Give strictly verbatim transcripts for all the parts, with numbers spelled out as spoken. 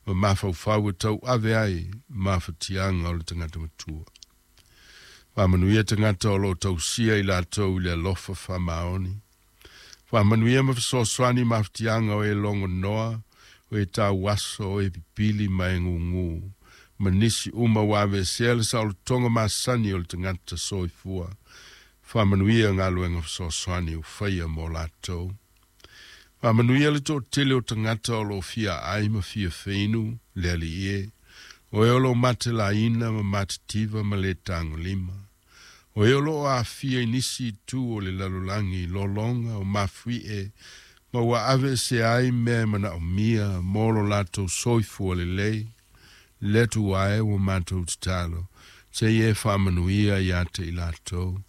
Ma mafaufau e tauave ai mafatiaga o le tagata matua. Faamanuia tagata o loo tausia i latou i le alofa faamaoni. Faamanuia ma fesoasoani mafatiaga o e logonoa, o e tauaso, o e pipili ma e gugū, ma nisi uma ua aveesea le saolotoga masani o le tagata soifua. Faamanuia galuega fesoasoani ua faia mo latou. Faamanuia le toatele o tagata o loo fia aai ma fia feinu le Alii e, o e o loo matelaina ma matitiva ma le tagolima. O e o loo aafia i nisi itu o le lalolagi, lologa o mafuie, ma ua aveesea ai mea e manaomia mo lo latou soifua lelei. Le Atua e, ua matou tatalo, se i e faamanuia ia te i latou.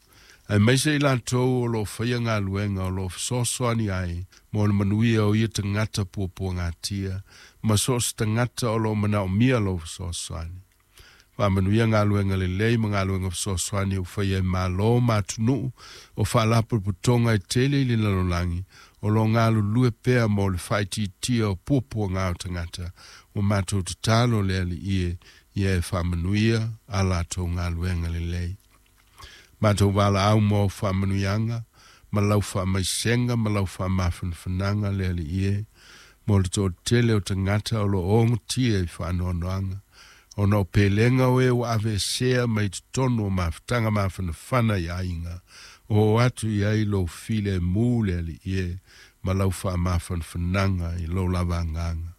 Aemaise i latou o loo faia galuega o loo fesoasoani ai mo le manuia o ia tagata puapuagatia ma so o se tagata o loo manaomia lou fesoasoani. Faamanuia galuega lelei ma galuega fesoasoani ua faia e malo ma atunuu o faalapotopotoga e tele i le lalolagi o loo galulue pea mo le faaitiitia o puapuaga o tagata. Ua matou tatalo le Alii e, ia e faamanuia a latou galuega lelei. Matou valaau mo au faamanuiaga ma lau faamaisega ma lau faamafanafanaga le Alii e, mo le toatele o tagata o loo ogotia i faanoanoaga, ona o pelega o e ua aveesea mai totonu o mafutaga mafanafana i aiga, o oo atu i ai lou filemu le Alii e, ma lau faamafanafanaga i lou lava agaga.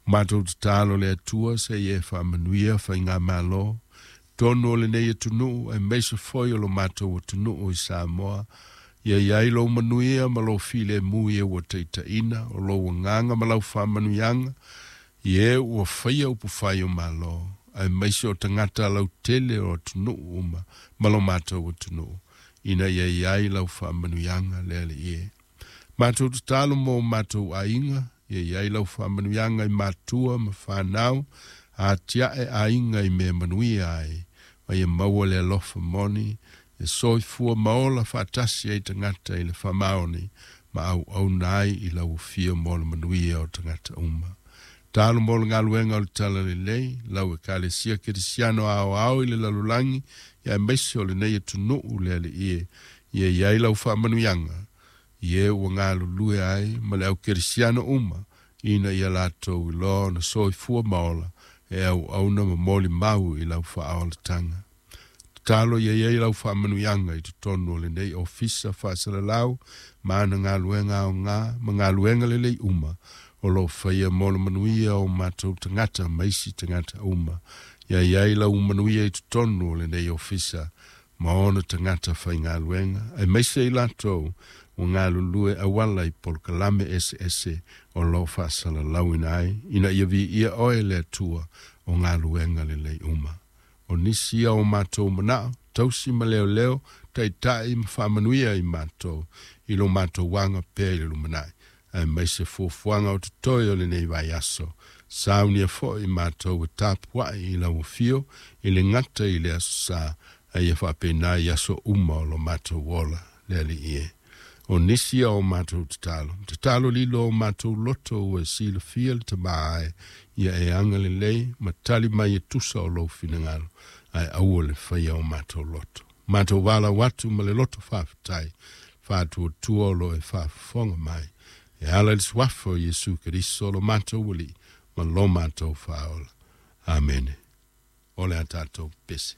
Matou tatalo le Atua se i e faamanuia faigamalo tonu o lenei atunuu aemaise foi o lo matou atunuu i Samoa. Ia i ai lou manuia ma lou filemu i e ua taitaiina, o lou agaga ma lau faamanuiaga i e ua faia upufai o malo, aemaise o tagata lautele o atunuu uma ma lo matou atunuu, ina ia i ai lau faamanuiaga le Alii e. Matou tatalo mo matou aiga, ia i ai lau faamanuiaga i matua ma fanau, atiae aiga i mea manuia ai, ma ia maua le alofa moni, e soifua ma ola faatasi ai tagata i le faamaoni, ma auauna ai i lau afio mo le manuia o tagata uma. Talo mo le galuega o le Talalelei, lau Ekalesia Kerisiano aoao i le lalolagi, aemaise o lenei atunuu le Alii e, ia i ai lau faamanuiaga, i e ua galulue ai ma le au kerisiano uma, ina ia latou iloa ona soifua ma ola, e auauna ma molimau i lau faaolataga. Tatalo ia i ai lau faamanuiaga i totonu o lenei ofisa faasalalau ma ana galuega aoga ma galuega lelei uma o loo faia mo le manuia o matou tagata ma isi tagata uma. Ia i ai lau manuia i totonu o lenei ofisa ma ona tagata faigaluega, aemaise i latou ua galulue auala i polokalame eseese o loo faasalalauina ai, ina ia viia oe le Atua o galuega lelei uma. O nisi ia o matou manao, tausi ma leoleo, taitai ma faamanuia i matou, i lo matou aga pea i le lumanai, aemaise fuafuaga o totoe o lenei vaiaso. Saunia foi matou e tapuai i lau afio i le gata i le aso Sa, a ia faapena i aso uma o lo matou ola le Alii e. O nisi ia o matou tatalo, tatalo lilo o matou loto ua e silafia le Tama ai, ia e agalelei ma tali mai e tusa o lou finagalo, ae aua le faia o matou loto. Matou valaau atu ma le loto faafetai, faatuatua o lo e faafofoga mai, e ala i le suafa o Iesu Keriso lo matou Alii ma lo matou Faaola. Amene. O le a tatou pese.